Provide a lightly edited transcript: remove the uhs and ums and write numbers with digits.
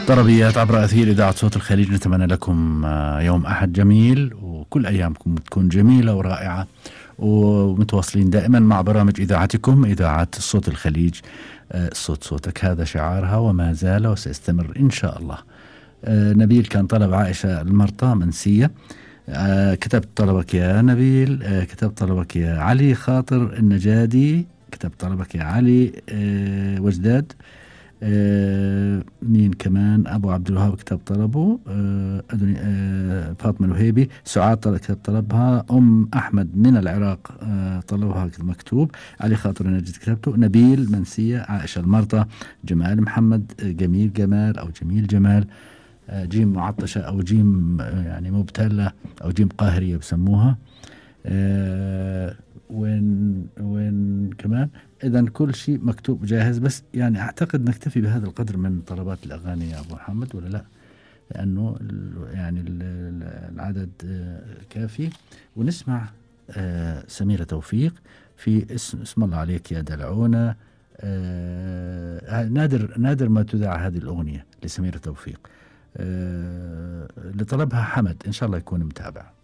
طربيات عبر أثير إذاعة صوت الخليج. نتمنى لكم يوم أحد جميل، وكل أيامكم تكون جميلة ورائعة، ومتواصلين دائما مع برامج إذاعتكم إذاعة صوت الخليج. الصوت صوتك هذا شعارها، وما زال وسيستمر إن شاء الله. نبيل كان طلب عائشة المرطى منسية. كتبت طلبك يا نبيل. كتبت طلبك يا علي خاطر النجادي. كتبت طلبك يا علي وجداد. مين كمان؟ أبو عبد الوهاب كتب طلبه. فاطمة الوهيبي. سعاد كتب طلبها. أحمد من العراق طلبها مكتوب. علي خاطر النجد كتبته. نبيل منسية. عائشة المرطى. جمال محمد. جميل جمال أو جميل جمال. جيم معطشة أو جيم يعني مبتلة أو جيم قاهرية بسموها. وين كمان؟ إذن كل شيء مكتوب جاهز، بس يعني أعتقد نكتفي بهذا القدر من طلبات الأغاني يا أبو محمد، ولا لا؟ لأنه يعني العدد كافي. ونسمع سميرة توفيق في اسم الله عليك يا دلعونة. نادر ما تذاع هذه الأغنية لسميرة توفيق. لطلبها حمد، إن شاء الله يكون متابع.